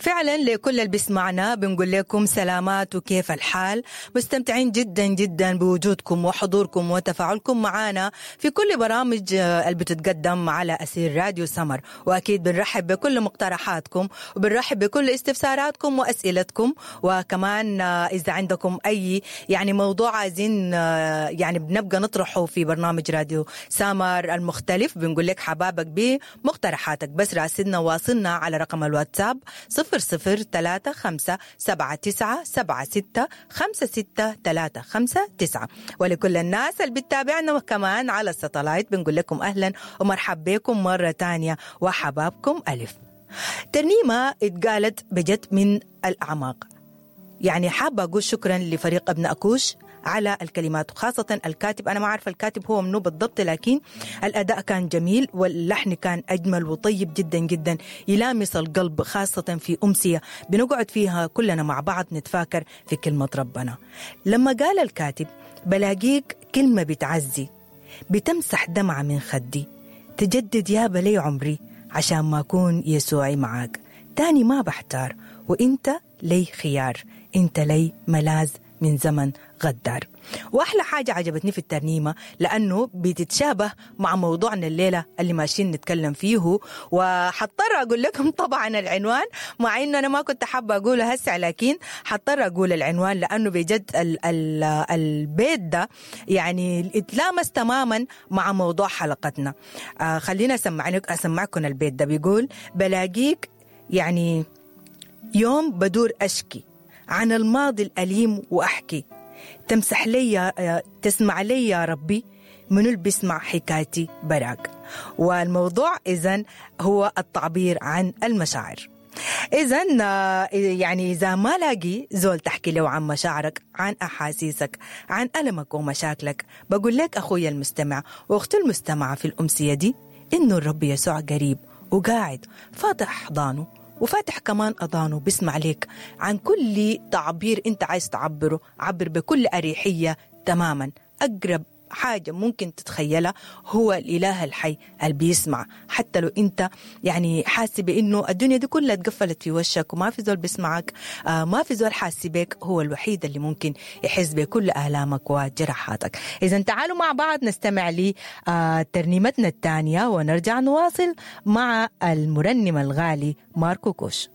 فعلا لكل اللي بيسمعنا بنقول لكم سلامات وكيف الحال. مستمتعين جدا جدا بوجودكم وحضوركم وتفاعلكم معنا في كل برامج اللي بتتقدم على أثير راديو سمر، وأكيد بنرحب بكل مقترحاتكم وبنرحب بكل استفساراتكم وأسئلتكم، وكمان إذا عندكم أي يعني موضوع عايزين يعني بنبقى نطرحه في برنامج راديو سمر المختلف، بنقول لك حبابك بمقترحاتك. بس راسلنا واصلنا على رقم الواتساب 0035 79 76 56 359. ولكل الناس اللي بتتابعنا كمان على الستلايت بنقول لكم أهلا ومرحب بكم مرة تانية وحبابكم ألف. ترنيمة اتقالت بجد من الأعماق، يعني حابة أقول شكرا لفريق ابن أكوش على الكلمات، وخاصة الكاتب. أنا ما عارفة الكاتب هو منو بالضبط، لكن الأداء كان جميل واللحن كان أجمل وطيب جدا جدا، يلامس القلب، خاصة في أمسية بنقعد فيها كلنا مع بعض نتفاكر في كلمة ربنا. لما قال الكاتب بلاقيك كلمة بتعزي، بتمسح دمعة من خدي، تجدد يا بلي عمري عشان ما أكون يسوعي معاك، تاني ما بحتار وإنت لي خيار، إنت لي ملاذ من زمن غدار. وأحلى حاجة عجبتني في الترنيمة لأنه بتتشابه مع موضوعنا الليلة اللي ماشيين نتكلم فيه، وحضطر أقول لكم طبعا العنوان، مع إنه أنا ما كنت حابة أقوله هسه، لكن حضطر أقول العنوان لأنه بجد ال ال البيت ده يعني اتلامس تماما مع موضوع حلقتنا. خلينا أسمعكم البيت ده. بيقول بلاقيك يعني يوم بدور أشكي عن الماضي الأليم وأحكي، تمسح لي تسمع لي يا ربي منو اللي بيسمع حكايتي براك. والموضوع إذن هو التعبير عن المشاعر. إذن يعني إذا ما لاقي زول تحكي له عن مشاعرك، عن أحاسيسك، عن ألمك ومشاكلك، بقول لك أخوي المستمع وأختي المستمعة في الأمسية دي إنه الرب يسوع قريب وقاعد فاتح أحضانه وفاتح كمان أذانه، بيسمع لك عن كل تعبير أنت عايز تعبره، عبر بكل أريحية تماما. أقرب حاجة ممكن تتخيلها هو الإله الحي اللي بيسمع، حتى لو أنت يعني حاسس بأنه الدنيا دي كلها اتقفلت في وشك وما في زول بيسمعك، ما في زول حاسس بك، هو الوحيد اللي ممكن يحس بكل آلامك وجراحاتك. إذا تعالوا مع بعض نستمع لترنيمتنا الثانية ونرجع نواصل مع المرنم الغالي ماركو كوش.